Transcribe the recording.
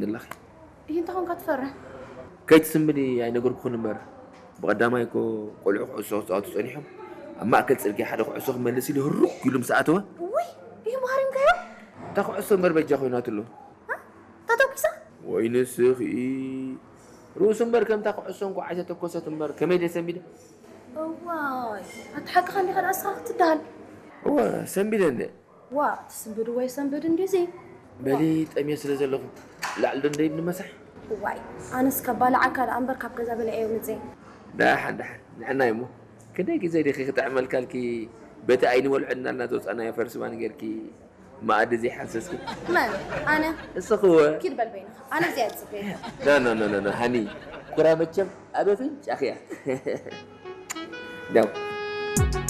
ንላኺ ይህ እንተኾንካ ትፈርሕ ከይትስምዲ ኣይነገርኩኽን እምበር፣ ብቐዳማይ እኮ ቆልዑ ኩዕሶ ክፃወቱ ፀኒሖም፣ ኣብ ማእከል ፅርግያ ሓደ ኩዕሶ ክመልስ ኢሉ ህሩክ ኢሉ ምስ ኣተወ፣ ውይ ይህ ባህሪምካዮ እታ ኩዕሶ እምበር በጃ ኮይናትሉ። ተተኩሳ ወይ ንስኺ ርእሱ እምበር ከምታ ኩዕሶ እንኳዕ ኣይተተኮሰት እምበር ከመይ ደሰንቢደ። እዋይ ኣቲ ሓቅኻ እንዲኻ ደኣ እስኻ ክትደሃል እወ ሰንቢደ እንደ ዋ ትስንብድ ወይ ሰንብድ እንዲዚ በሊ ጠምየ ስለ ዘለኹ ላዕሊ ዶ እንደይድ ንመሳሕ። እዋይ ኣነስ ከባልዓካ ደኣ እምበር ካብ ገዛ በሊዐዮ ምፅእ ዳሓን ዳሓን ንዕናይ እሞ ክንደይ ግዜ ዲኺ ክጥዕመልካልኪ በቲ ኣይንበልዖ እናልና ዘውፃናዮ ፈርስባን ጌርኪ መኣዲ ዘይሓሰስኪ መን ኣነ እስኽወ ኪድ በል በይንኻ ኣነ እዚኣ ዝፅበየካ ኖ ኖ ኖ ኖ ሃኒ ኩራ መቸም ኣብ ኣፍንጫኺ እያ ዳው